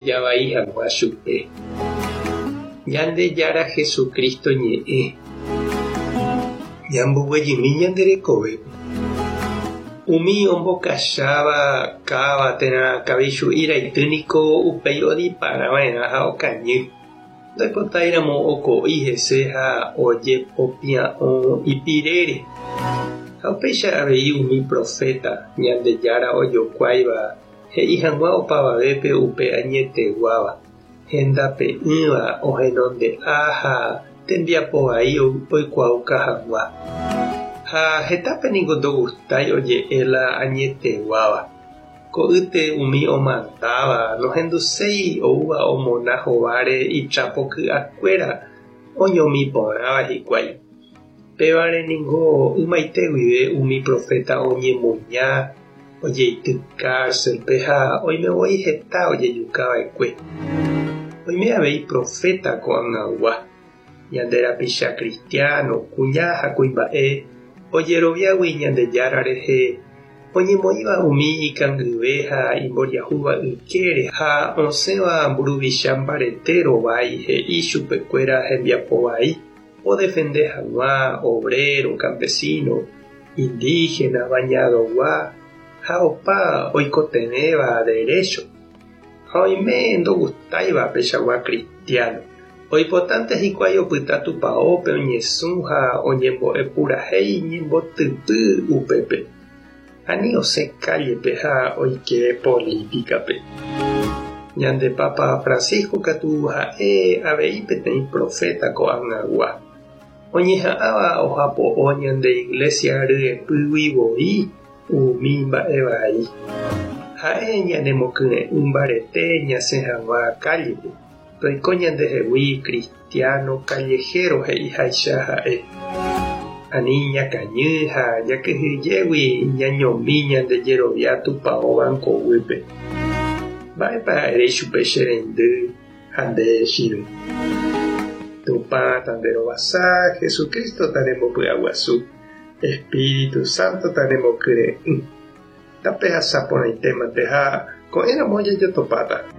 Javai hag̃ua chupe. Ñandejára Jesucristo ñe'ẽ. Ñamboguejymi ñande rekovépe. Umi ombokacháva káva térã kavichu'i raity niko upéi odipara va'erã ha okañy. Ndoipotáiramo oko'i hese ha ojepopia'õ ipirére. Ha upéicha avei umi proféta Ñandejára ojokuáiva He'i hag̃ua opavavépe upe añeteguáva, hendape'ỹva ohenonde'a ha tembiapo vai oikuaauka hag̃ua. Ha hetápe ningo ndogustái oje'e la añeteguáva. Ko'ýte umi omandáva nohenduséi oúva omona hováre itrapo ky'akuéra oñomi porãva hikuái. Pévare ningo ymaite guive umi proféta oñemuña, ojeity kárselpe ha oime voi heta ojejuka va'ekue. Oime avei proféta ko'ag̃agua, ñande rapicha kristiáno, kuña ha kuimba'e ojeroviágui Ñandejára rehe, oñemoĩva umi ikangyve ha imboriahúva ykére ha osẽva mburuvicha mbarete rovái he'i chupekuéra hembiapo vai. Odefende hag̃ua obrero, campesino, indígena, bañadogua ha opa oikotevẽva derécho. Ha oime ndogustáiva peichagua cristiano. Oipotánte hikuái opyta tupaópe oñesũ ha oñembo'e purahéi ñembotypy upépe. Ani osẽ kállepe ha oike polítikape. Ñande Papa Francisco katu ha'e avei peteĩ proféta ko'ag̃agua, oñeha'ãva ohapo'o ñande Iglesia ryepýgui voi umi mba'e vai. Ha'e ñanemokyre'ỹ mbarete ñasẽ hag̃ua kállepe, toiko ñandehegui Cristiano callejero he'iháicha ha'e. Ani ñakañy ha jakyhyjégui ñañomi ñande jerovia tupao banco guýpe. Mba'épa ere ichupe che reindy ha nde chirũ? Tupã tanderovasa, Jesucristo tanembopy'aguasu, Espíritu Santo tanemokyre'ỹ. Tapehasa porãitémante ha ko'ẽramo jajotopáta.